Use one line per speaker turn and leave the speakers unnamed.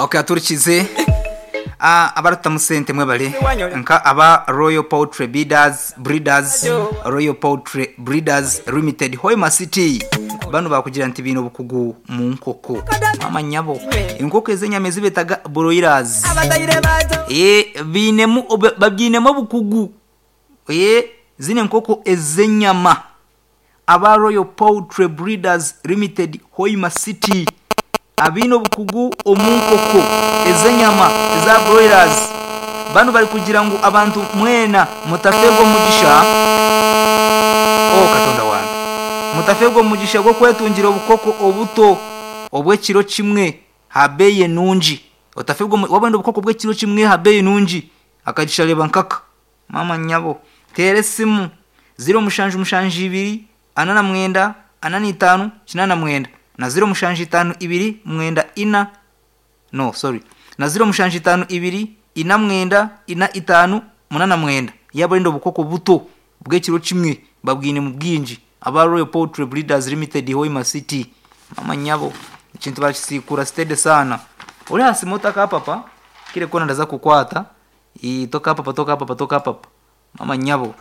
Okay, aturikize abarikutamu sente mwebare nka aba Royal Poultry Bidders, Breeders, Royal Poultry Breeders Limited Hoima City banu bakugira nti baine obukugu mu nkoko. Maama nyabo, enkoko ez'enyama ezi betaga broilers. Eeh bainemu babyinemu obukugu. Eeh zinu enkoko ez'enyama. Aba Royal Poultry Breeders Limited Hoima City abaine obukugu omu nkoko ez'enyama eza broilers banu bari kugira ngu abantu mwena mutafeerwa omugisha Oh Katonda wange! Mutafeerwa omugisha gw'okwetungira obukoko obuto obw'ekiro kimwe aha beeyi enungi. Otafeerwa waaba oyenda obukoko bw'ekiro kimwe aha beeyi nungi, akagisha reeba nkaka. Maama nyabo, teera esimu, ziro mushanju mushanju ibiri, ana na mwenda, ana na itaano, kinaana na mwenda, na ziro mushanju itaano ibiri, mwenda ina, no sorry, na ziro mushanju itaano ibiri, ina mwenda, ina itaano, munaana na mwenda. Yaaba orenda obukoko buto bw'ekiro kimwe, babwine mu bwingi. Aba Royal Poultry Breeders Limited Hoima City. Maama nyabo, ekintu barakisiikura steady sana. Ori aha simu otakapapa, kire koona ndaza kukwata. Ii, tokapapa, tokapapa, tokapapa. Maama nyabo.